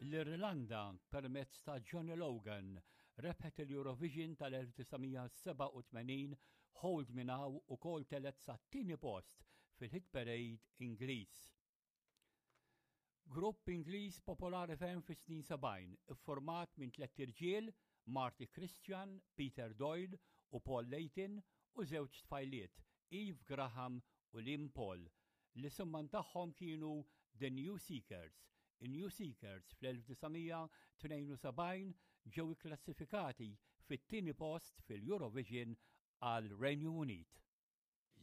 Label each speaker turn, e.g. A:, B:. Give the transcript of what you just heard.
A: L-Irlanda, permezz ta' Johnny Logan, rebħet il-Eurovision tal-1987 Hold Me Now ukoll telgħet sat-tieni post fil-Hit Parade Ingliż. Grupp Ingliż popolari ferm fis-snin 70, iffurmat minn tlett irġiel, Marty Christian, Peter Doyle u Paul Layton u żewġ tfajliet, Eve Graham u Lynn Paul, L-isimman tagħhom kienu The New Seekers. In-New Seekers fl-1972 ġew ikklassifikati fit-tieni post fil-Eurovision għal Renju Unit.